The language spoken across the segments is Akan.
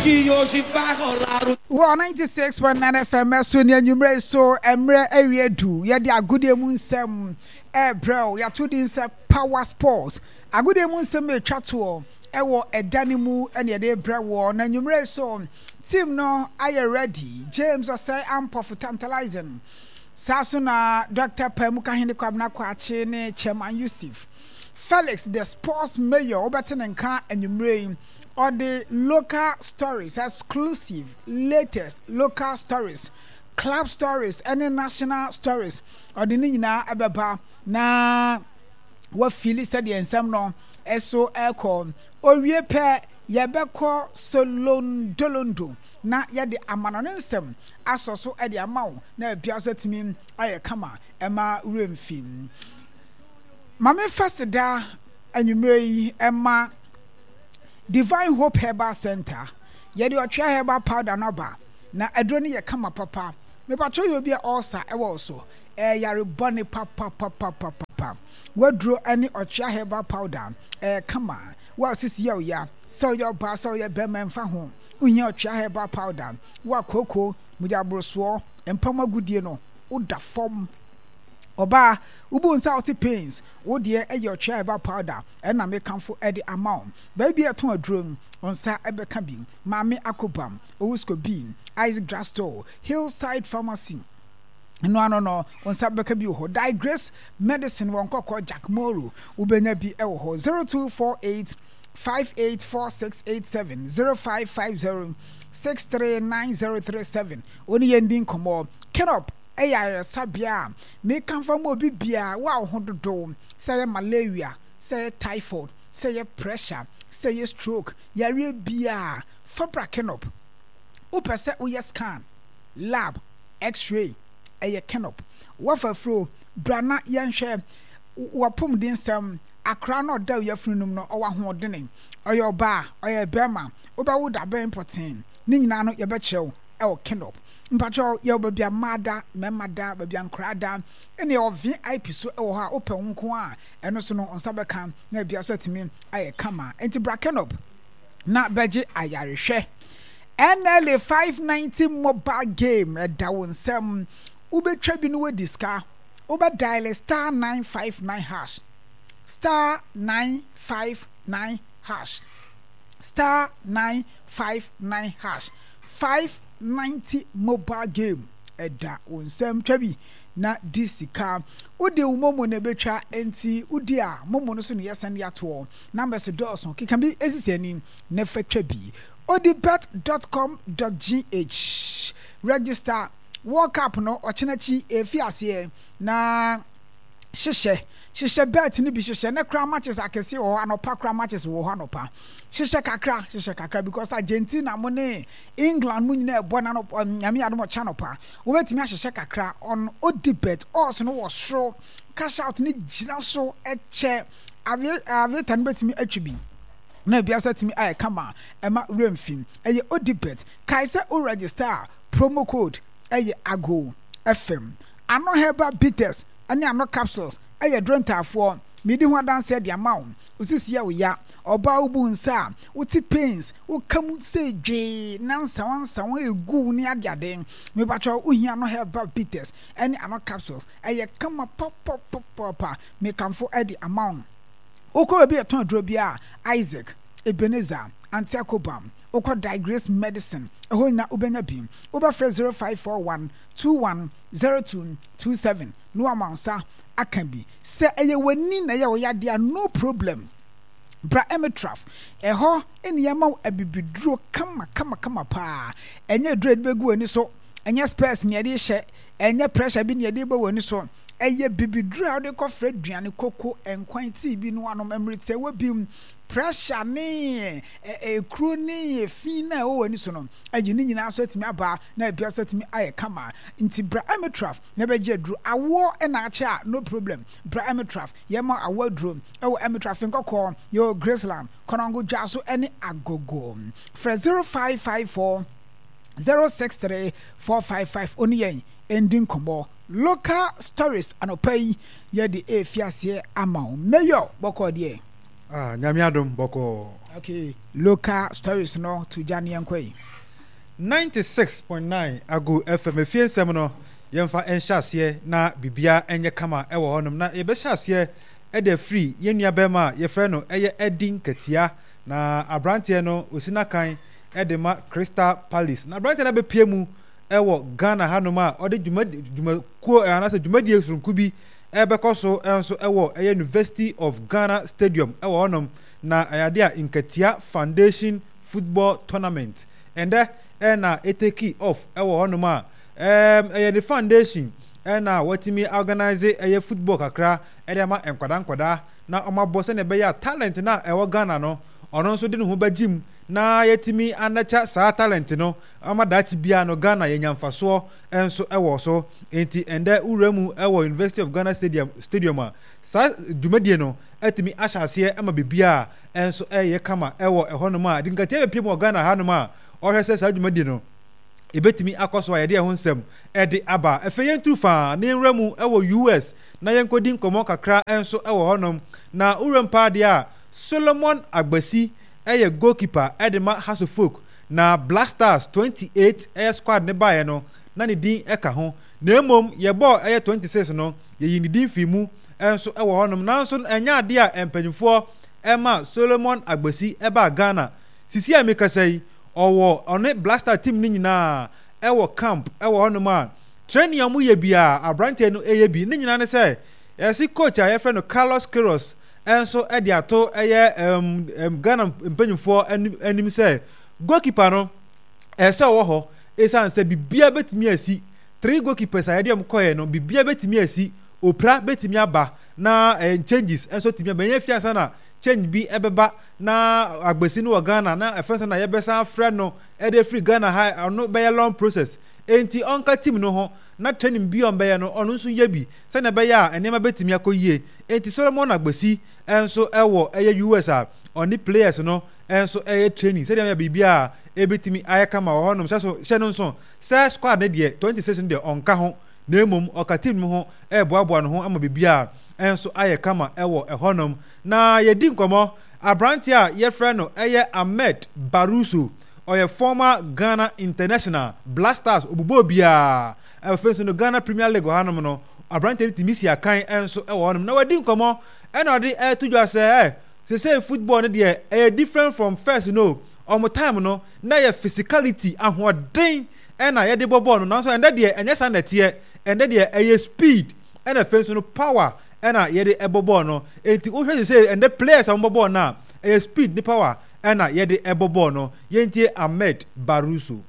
Que hoje vai rolar o. Wɔ 96.9 FM so ne anwummerɛ yi so mmerɛ awie du yɛde agodie mu nsɛm ɛrebrɛ wo yɛato din sɛ Power Sports agodie mu nsɛm ɛtwa toɔ ɛwɔ ɛda no mu ɛne yɛde rebrɛ woɔ na anwummerɛ yi so team no ayɛ ready James Osei Ampofo Tantalizing saa so na Dr. Paamukahene Kwabena Kwakye ne Chairman Yusuf Felix the sports mayor wobɛte ne nka anwummerɛ yi Ɔde local stories, exclusive, latest local stories, club stories ne national stories, ɔde ne nyinaa bɛba na wafili sɛdeɛ nsɛm no so ɛrekɔ. Owie pɛ, yɛbɛkɔ Solondolondo na yɛde amanɔne nsɛm asɔ so de ama wo na biribiara nso atumi ayɛ kama ɛma werɛ mfi. Ma memfa seda anwummerɛ yi ma Divine Hope Herbal Centre, yɛde ɔtwea herbal powder no aba, na aduro no yɛ kama papa. Mepakyɛw yɛ obi a ulcer wɔ wo so, ɛyɛ yare bɔne papapapapapa. W'aduro ne ɔtwea herbal powder, ɛyɛ kama. Wo a sisi yɛ wo ya, sɛ woyɛ ɔbaa sɛ woyɛ bɛrima ɛmfa ho, wohia ɔtwea herbal powder. Wo a kooko, mogya borosoɔ, mpa mu agodie no, woda fam. Ɔbaa, wobu nsa a wote pains, wo deɛ yɛ ɔtwea herbal powder. Ɛna me kamfo de ama wo. Baabi a ɛtɔn aduro no, wo nsa bɛka bi. Maame Akobam, Owusko B, Isaac Drugstore, Hillside Pharmacy, ɛno ano no, wo nsa bɛka bi wɔ hɔ. Digrace Medicine wɔ Nkɔkɔ, Jack Moro, wobɛnya bi wɔ hɔ. 0248 584687 0550 639037. Wo ne yɛn di nkɔmmɔ. Kenop yɛ ayaresabea a mekamfo ama obi biara, wo a wo ho dodow, sɛ ɛyɛ malaria, sɛ ɛyɛ typhoid, sɛ ɛyɛ pressure, sɛ ɛyɛ stroke, yareɛ biara, fa bra Kenop. Wopɛ sɛ woyɛ scan, lab, x-ray, ɛyɛ Kenop. Woafa afuro, bra na yɛnhwɛ w'apɔmuden nsɛm. Akora no a ɔda wo yafunu no mu no, ɔwɔ ahoɔdene? Ɔyɛ ɔbaa? Ɔyɛ barima? Wobɛwo da bɛn pɔtee? Ne nyinaa no yɛbɛkyerɛ wo wɔ Kenop. Mpakyɛw, yɛwɔ baabi a mmaa da, mmarima da, baabi a nkoraa da, ɛna yɛwɔ VIP so wɔ hɔ a wopɛ wo nko a, ɛno so no wo nsa bɛka na biribiara so atumi ayɛ kama. Enti bra Kenop na bɛgye ayarehwɛ. NLA 590 mobile game ɛda wo nsam. Wobɛtwa bi na woadi sika. Wobɛ dial star 959 hash, star 959 hash, star 959 hash. 590 mobile game ɛda wo nsam twa bi na di sika. Wode wo momo na ɛbɛtwa enti wodi a momo no so na yɛsɛn de atoɔ. Numbers dɔɔso, keka bi sisi ani na fa twa bi. Odibet dot com dot gh Register World Cup no ɔkyena akyi ɛrefi aseɛ na hyehyɛ hyehyɛ bet no bi hyehyɛ ne koraa matches akɛseɛ wɔ hɔ anɔpa koraa matches wɔ hɔ anɔpa hyehyɛ kakra hyehyɛ kakra because Argentina mo ne England mo nyinaa ɛbɔ na anɔpa nyame adom ɔkyɛ anɔpa wobɛtumi ahyehyɛ kakra on odi bet odds no wɔ soro cash out no gyina so ɛkyɛ aviator no bɛtumi atwi bi na ebi asa tumi ayɛ kama ɛma werɛ mfi ɛyɛ odi bet kae sɛ wo register a promo code ɛyɛ ago fm Ano herbal bitters ne ano capsules yɛ aduro ntaafoɔ. Medi ho adanseɛ de ama wo. Wo sisi yɛ wo ya, ɔbaa wo bu nsa a, wo te pains, wo ka mu sei dwee na nsawa nsawa egu wo ne adeade. Mepakyɛw wo hia ano herbal bitters ne ano capsules. Ɛyɛ kama papapapapa. Mekamfo de ama wo. Wokɔ baabi a yɛtɔn aduro biara a, Isaac, Ebenezer, Auntie Akobam, wokɔ Digrace Medicine, ɛhɔ nyinaa wobɛnya bi. Wobɛfrɛ 0541 21 02 27 na wama wo nsa aka bi. Sɛ ɛyɛ w'ani na ɛyɛ wo yadeɛ a, no problem. Bra Emitraf, ɛhɔ na yɛma wo abibiduro kama kama kama paa. Ɛnyɛ aduro a yɛde bɛgu w'ani so, ɛnyɛ spɛs na yɛde rehyɛ, ɛnyɛ pressure bi na yɛde rebɔ w'ani so. Ɛyɛ bibiduro a wode kɔfra aduane, koko, nkwan, tea bi no anom mmere tiawa bi mu. Pressure ne ekuro ne efi no a ɛwɔ w'ani so no, ayi ne nyinaa so atumi aba na ebi nso atumi ayɛ kama. Nti bra Amitraf na bɛgye aduro. Awoɔ na akyɛ a, no problem. Bra Amitraf, yɛma awoɔ aduro. Ɛwɔ Amitraf Nkɔkɔɔ, yɛwɔ Graceland, Konongo Dwaso ne Agogo. Frɛ 0554 063 455 wo ne yɛn ndi nkɔmmɔ. Local stories anɔpa yi yɛde refi aseɛ ama wo. Mayor, bɔkɔɔ deɛ? Ah, Nyame adom, bɔkɔɔ. Okay, local stories no to gya ne yɛnkɔ yi. 96.9 Ago FM efie nsɛm no yɛmfa nhyɛ aseɛ na biribiara nyɛ kama wɔ hɔnom na yɛbɛhyɛ aseɛ de afiri yɛn nua bɛrima a yɛfrɛ no ɛyɛ Eddie Nkatia na aberanteɛ no ɔsi n'akan de ma Crystal Palace na aberanteɛ no abɛpie mu wɔ Ghana hanom a ɔde dwuma dwumakuo anaasɛ dwumadie soronko bi ɛrebɛkɔ so nso wɔ ɛyɛ University of Ghana Stadium wɔ hɔnom na ɛyɛ adeɛ a Nkatia Foundation Football Tournament ɛndɛ ɛna ɛteki off wɔ hɔnom a ɛyɛ ne foundation ɛna watumi organize ɛyɛ football kakra ɛde ama nkwadaa nkwadaa na wɔabɔ sɛnea ɛbɛyɛ a talent no a ɛwɔ Ghana no ɔno nso de ne ho bɛgye mu na yɛatumi anɛkya saa talent no ama daakye biara no Ghana yɛnya mfasoɔ nso wɔ so. Enti ɛndɛ wowura mu wɔ University of Ghana Stadium, Stadium a, saa dwumadie no atumi ahyɛ aseɛ ama biribiara nso ɛreyɛ kama wɔ ɛhɔnom a Adinkatia bɛpie mu wɔ Ghana hanom a ɔhwɛ sɛ saa dwumadie no ɛbɛtumi akɔ so a yɛde ɛho nsɛm de aba. Afei yɛnturu faa na yɛnwura mu wɔ US na yɛnkɔdi nkɔmmɔ kakra nso wɔ hɔnom. Na wowura mu paa deɛ a, Solomon Agbasi yɛ goalkeeper de ma Hearts-of-Oak Na Black Stars 28 ɛyɛ squad no baeɛ no na ne din ka ho na mmom yɛbɔɔ ɛyɛ 26 no yɛyii ne din fii mu nso wɔ hɔnom nanso no ɛnyɛ adeɛ a mpanyinfoɔ ɛma Solomon Agbasi ɛbaa Ghana sisi a mekasa yi ɔwɔ ɔne Black Star team no nyinaa ɛwɔ camp ɛwɔ hɔnom a training a wɔyɛ biara aberanteɛ no ɛyɛ bi ne nyinaa ne sɛ yɛse coach a yɛfrɛ no Carlos Queiroz nso de ato ɛyɛ ɛm Ghana mpanyinfoɔ anim anim sɛ goalkeeper no ɛsɛ ɔwɔ hɔ ɛsiane sɛ biribiara bɛtumi asi three goalkeepers a yɛde wɔn kɔɛ no biribiara bɛtumi asi opira bɛtumi aba na ɛɛ changes nso tumi aba ɛnyɛ fi ansa na change bi ɛbɛba na agbesi no wɔ Ghana na ɛfɛn sɛ na yɛbɛsan afrɛ no ɛde afiri Ghana ha ɔno bɛyɛ long process enti ɔnka team no ho na training bi a ɔbɛyɛ no ɔno nso yɛ bi sɛnea ɛbɛyɛ a nneɛma bɛtumi akɔ yie. Enti Solomon Agbesi nso wɔ ɛyɛ US a ɔne players no nso ɛyɛ training sɛdeɛ ɛbɛyɛ biribiara ɛbɛtumi ayɛ kama wɔ hɔnom. Hyɛ so hyɛ no nso sɛ squad no deɛ 26 no deɛ ɔnka ho na mmom ɔka team no ho ɛreboaboa ne ho ama biribiara nso ayɛ kama wɔ ɛhɔnom. Na yɛdi nkɔmmɔ aberanteɛ a yɛfrɛ no ɛyɛ Ahmed Baruso ɔyɛ former Ghana international Black Stars ɔbobɔ obiara afei nso no Ghana Premier League wɔ hanom no Aberanteɛ no tumi si akan nso wɔ hɔnom na wadi nkɔmmɔ ɛna ɔde ɛreto dwa sɛ ɛ sesei football no deɛ ɛyɛ different from first no ɔmo time no na yɛ physicality ahoɔden ɛna yɛde bɔ bɔɔl no nanso ɛndɛ deɛ ɛnyɛ saa na ɛteɛ ɛndɛ deɛ ɛyɛ speed ɛna afei nso no power ɛna yɛde ɛbɔ bɔɔl no enti wohwɛ sesei ɛndɛ players a wɔbɔ bɔɔl no a ɛyɛ speed ne power ɛna yɛde ɛbɔ bɔɔl no yɛntie Ahmed Baruso.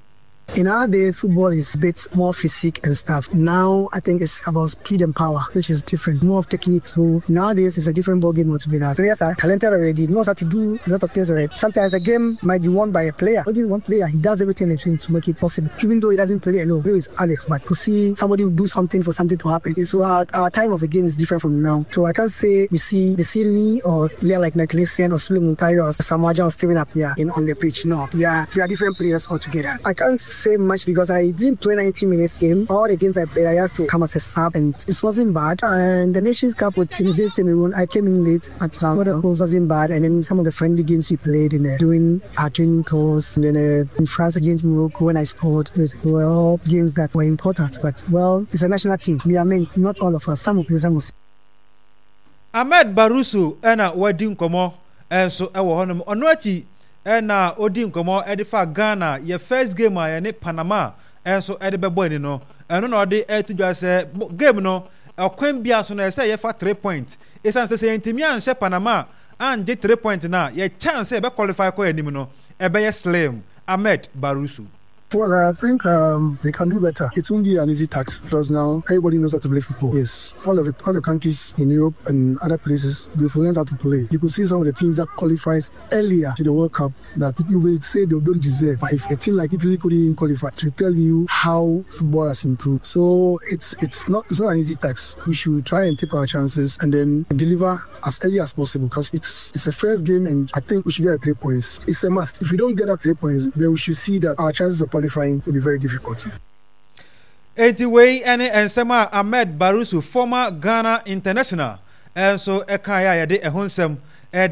In our days, football is a bit more physique and stuff. Now, I think it's about speed and power, which is different, more of technique. So nowadays, it's a different ball game altogether. Players are talented already, knows how to do a lot of things already. Sometimes a game might be won by a player. Only one player, he does everything in to make it possible. Even though he doesn't play alone, he is Alex, but to see somebody do something for something to happen. So our, our time of the game is different from now. So I can't say we see the Siri or player like Nicholson or Suleiman Tayo or Samaja or Steven Appiah in on the pitch. No, we are we are different players altogether. I can't say much because I didn't play 90 minutes game. All the games I played, I had to come as a sub, and it wasn't bad. And the Nations Cup with against Cameroon, I came in late, but some of the goals wasn't bad. And then some of the friendly games we played in the, during our training tours, and then uh, in France against Morocco when I scored, it were all games that were important. But well, it's a national team. We are men, not all of us. Some will play, some will. Ahmed Barusu na wadi nkɔmmɔ nso wɔ hɔnom. Ɔno akyi na ɔdi nkɔmmɔ de fa Ghana yɛ first game a yɛne Panama nso de bɛbɔ ani no. Ɛno na ɔde reto dwa sɛ game no ɔkwan biara so no ɛsɛ sɛ yɛfa three point. Ɛsiane sɛ sɛ yɛntumi anhyɛ Panama angye three point no a, yɛ chance sɛ yɛbɛ qualify kɔ anim no ɛbɛyɛ slim. Ahmed Barusu. Well, I think um, they can do better. It won't be an easy task because now everybody knows how to play football. Yes, all of the, all the countries in Europe and other places, they've learned how to play. You could see some of the teams that qualifies earlier to the World Cup that you will say they don't deserve. But if a team like Italy couldn't even qualify, to tell you how football has improved. So it's it's not it's not an easy task. We should try and take our chances and then deliver as early as possible because it's it's a first game and I think we should get 3 points. It's a must. If we don't get that 3 points, then we should see that our chances of qualifying will be very difficult. Enti wei ne nsɛm a Ahmed Barusu, former Ghana international, nso kaeɛ a yɛde ɛho nsɛm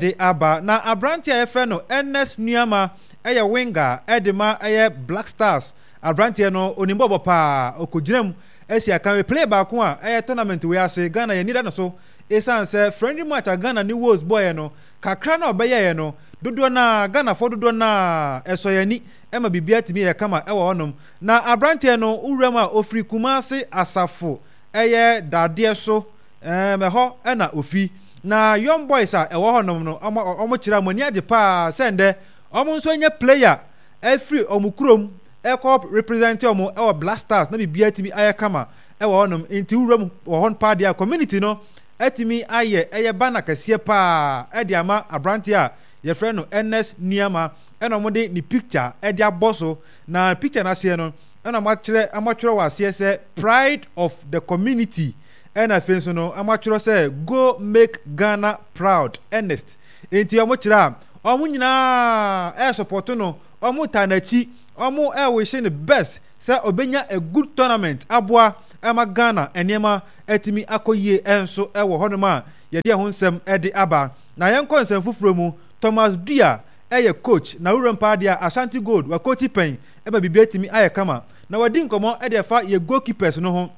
de aba. Na aberanteɛ a yɛfrɛ no Ernest Nuamah yɛ winger de ma ɛyɛ Black Stars. Aberanteɛ no onim bɔɔlbɔ paa, ɔkɔgyina mu asi akan. Wei player baako a ɛyɛ tournament wei ase Ghana yɛn ani da no so esiane sɛ friendly match a Ghana ne Wales bɔeɛ no, kakra no a ɔbɛyɛeɛ no, dodoɔ no ara, Ghanafoɔ dodoɔ no ara, ɛsɔ yɛn ani ma biribiara tumi yɛ kama wɔ hɔnom. Na aberanteɛ no, wo wuram a ɔfiri Kumasi Asafo ɛyɛ dadeɛ so, ɛɛm, ɛhɔ na ɔfi. Na Young Boys a ɛwɔ hɔnom no, wɔn, wɔkyerɛ a wɔn ani agye pa ara sɛ ndɛ wɔn nso anya player afiri wɔn kurom ɛrekɔ represent wɔn wɔ Black Stars na biribiara atumi ayɛ kama wɔ hɔnom. Nti wo wuram wɔ hɔ paa deɛ a, community no atumi ayɛ ɛyɛ banner kɛseɛ paa de ama aberanteɛ a yɛfrɛ no Ernest Nuamah ɛna wɔde ne picture de abɔ so. Na picture no aseɛ no ɛna wɔatwerɛ wɔatwerɛ wɔ aseɛ sɛ pride of the community ɛna afei nso no wɔatwerɛ sɛ go make Ghana proud Ernest. Nti wɔkyerɛ a wɔn nyinaa ɛresupɔto no, wɔtaa n'akyi, wɔrewish no best sɛ ɔbɛnya a good tournament aboa ma Ghana nneɛma atumi akɔ yie nso wɔ hɔnom a yɛde ɛho nsɛm de aba. Na yɛnkɔ nsɛm foforɔ mu, Thomas Duah yɛ coach na wuram paa deɛ a Ashanti Gold wakookyi pɛn ma biribi atumi ayɛ kama. Na wadi nkɔmmɔ de afa yɛ goalkeepers no ho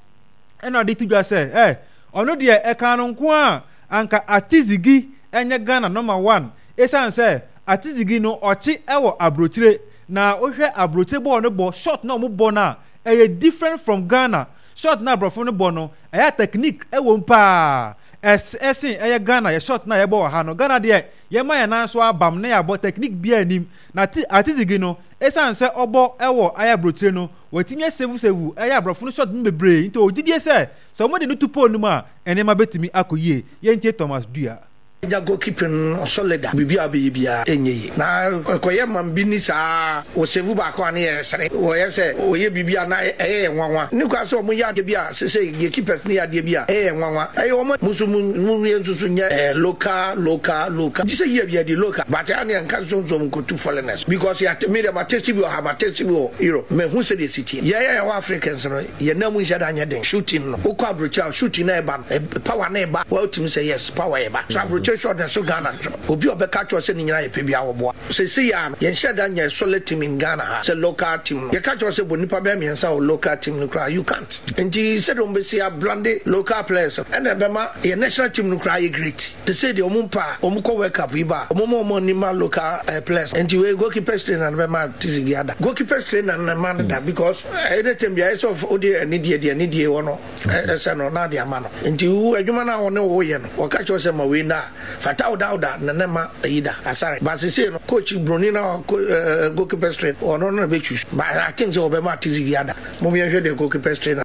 ɛna ɔde to dwa sɛ eh, ɔno deɛ ɛkaa no nko a anka Atizigi nyɛ Ghana number one esiane sɛ Atizigi no ɔkye wɔ abrokyire na wohwɛ abrokyire bɔɔl no bɔ shot na ɔmo bɔ no a ɛyɛ different from Ghana shot na abrɔfo no bɔ no ɛyɛ a technique ɛwɔ mu paa ɛsen ɛyɛ Ghana yɛ shot na yɛbɔ wɔ ha no Ghana deɛ yɛma yɛn nan so abam na yɛabɔ technique biaa nnim na Atizigi no esiane sɛ ɔbɔ ɛwɔ ayɛ abrokyire no watumi asevu sevu ɛyɛ abrɔfo no shot no bebree nti ɔwɔ gyidie sɛ sɛ ɔmo de no to pole no mu a nneɛma bɛtumi akɔ yie yɛntie Thomas Duah. Nya goalkeeping no solid a, biribi a wobɛyɛ biara ɛnyɛ yie. Na ɛkɔyɛ man bi ni saa, wɔ save baako a ne yɛ sere, wɔyɛ sɛ wɔyɛ biribi a na ɛyɛ yɛn nwanwa. Nni kwan sɛ wɔyɛ adeɛ bi a sesei gatekeepers no yɛ adeɛ bi a ɛyɛ yɛn nwanwa. Ɛyɛ wɔn a mo nso mo mo yɛn nso so nyɛ local local local. Gye sɛ yie yɛde local but ɛyɛ a ne yɛnka nsonsom nkotu foreigners because yɛate me deɛ ma taste bi wɔ ha ma taste bi wɔ Europe mahu sɛdeɛ ɛsi teɛ. Yɛn a yɛwɔ Africans no Yɛn nan mu nhyɛ da nyɛ den. Shooting no wokɔ abrokyire a shooting na ɛba no power na ɛba wa wotumi sɛ yes power ɛba so abrokyire shot na so Ghana nso obi a ɔbɛka kyerɛ sɛ ne nyinaa yɛ pɛ biara wɔboa sɛsei ara no yɛn hyɛ da nyɛ solid team in Ghana ha sɛ local team no yɛka kyerɛ sɛ bɔ nipa bɛyɛ mmiɛnsa wɔ local team no koraa you can't nti sɛdeɛ wɔn bɛsi ablande local players no ɛna ɛbɛma yɛn national team no koraa yɛ great sɛsei deɛ wɔn mpa a wɔn kɔ World Cup yi ba a wɔn ma wɔn ani ma local players nti wei goalkeepers trainer no bɛma Tizigi ada goalkeepers trainer no na ɛma no da because Anytime biara ɛsɛ sɛ wode anidie deɛ anidie wɔ no ɛsɛ no na ade ama no. Nti wo adwuma no a wɔne wo yɛ no wɔka kyerɛ wo sɛ ma wei nna a fata wo da na ne ma ayi da asare. But sesei no coach broni na goalkeepers trainer ɔno no na bɛ choose but I think sɛ wɔbɛma Atizigi ada. Mom yɛnhwɛ deɛ goalkeepers trainer.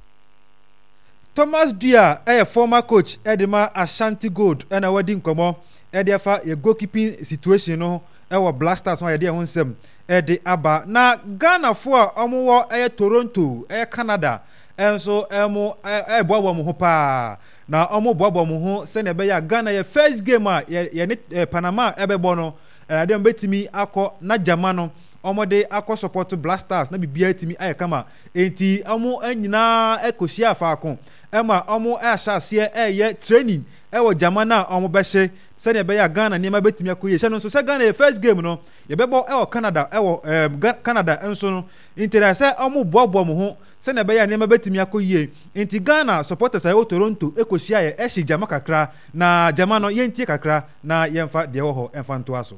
Thomas Duah yɛ former coach de ma Ashanti Gold na wadi nkɔmmɔ de afa yɛ goalkeeping situation no ho wɔ Black Stars ho a yɛde ɛho nsɛm de aba. Na Ghanafoɔ a wɔwɔ ɛyɛ Toronto, ɛyɛ Canada nso wɔn ɛreboaboa wɔn ho paa. Na wɔreboaboa wɔn ho sɛnea ɛbɛyɛ a Ghana yɛ first game a yɛne Panama ɛbɛbɔ no, ɛde wɔn bɛtumi akɔ na gyama no wɔde akɔ support Black Stars na biribiara atumi ayɛ kama. Enti wɔn nyinaa kɔhyia faako ma wɔn ahyɛ aseɛ ɛreyɛ training ɛwɔ gyama no a wɔbɛhye sɛnea ɛbɛyɛ a Ghana nneɛma bɛtumi akɔ yie. Hyɛ no nso sɛ Ghana yɛ first game no yɛbɛbɔ wɔ Canada wɔ ɛɛm Canada nso no nti na sɛ wɔn boaboa wɔn ho sɛnea ɛbɛyɛ a nneɛma bɛtumi akɔ yie nti Ghana supporters a ɛwɔ Toronto kɔhyia yɛ ɛhye gyama kakra na gyama no yɛntie kakra na yɛmfa deɛ ɛwɔ hɔ ɛmfa ntoa so.